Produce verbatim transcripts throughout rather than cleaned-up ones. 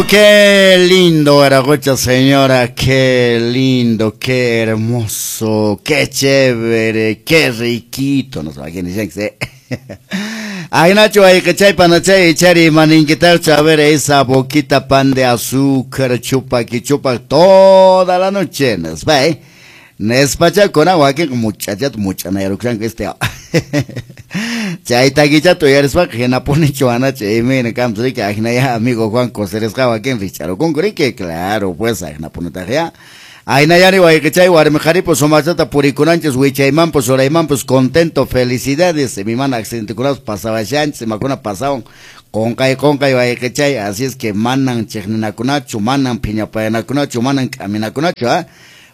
Qué lindo, Aragocha, señora, qué lindo, qué hermoso, qué chévere, qué riquito. No sé quién dice. Ay, Nacho, ay, que chay, panachay, chari, maninquitar, a ver esa boquita pan de azúcar, chupa, que chupa toda la noche. Nos va, eh. Nespacha con agua que muchachat muchana este. Chay taquichato yarispa hinapunichu anacha imayna kampas riki ahinaya amigo Juan coserisqa wakin richarukunku riki claro pues ahinapunitaq ya. Ahinayari wayqichay warmi qharipas sumaqchata purikunanchis wichaymanpas uraymanpas contento felicidades imamana accidentekunapas pasawashanchis imakuna pasawan qunqay qunqay wayqichay así es que manan chiqninakunachu manan phiñapayanakunachu manan k'aminakunachu ah.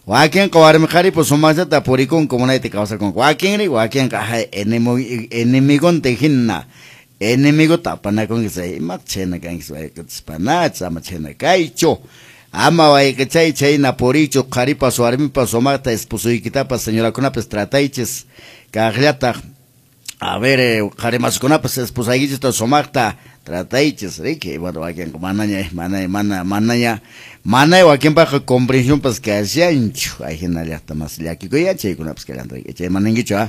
Wakinqa warmi qharipas sumaqchata purikunku munayta kawsakunku wakinri wakinqa enemigonta hina enemigota apanakunki imataq chhayna kanki wayqichispanach ama chhayna kaychu ama wayqichay chhayna puriychu qharipas warmipas sumaqta esposoykitapas señorakunapas trataychis kaqllataq a ver qharimaskunapas esposaykichista sumaqta trataychis riki bueno wakinqa manaña mana mana manaña manay wakinpaqqa comprensiónpas kashanchu ahinallaqta mas llakikuy chaykunapas kallanta echaymaninkichu ah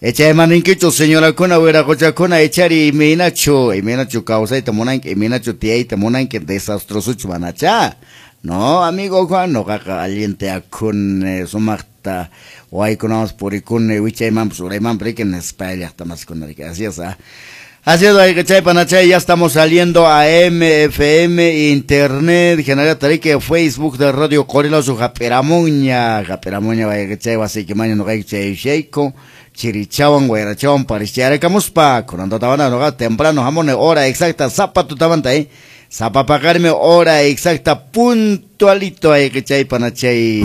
echaymaninkichu señorakuna wiraqochakuna echari imaynachu imaynachu kawsayta munanki imaynachu tiyayta munanki desastrosuchu manacha no amigo Juan noqaqa allinta akuni sumaqta waykunawanpas purikuni wichaymanpas uraymanpas riki nispa llaqta maskuna riki así es ah. Así es, chay panachay, ya estamos saliendo a M F M, Internet, General Tarique, Facebook de Radio Qorilasu, Japeramuña, Japeramuña, chay, wasikimaña, no chay, sheiko, chirichawan, guayrachawan, parischarekamuspa, curando tabana, no temprano, jamone, hora exacta, zapato tabanta, eh, zapapacarme, hora exacta, puntualito, chay panachay.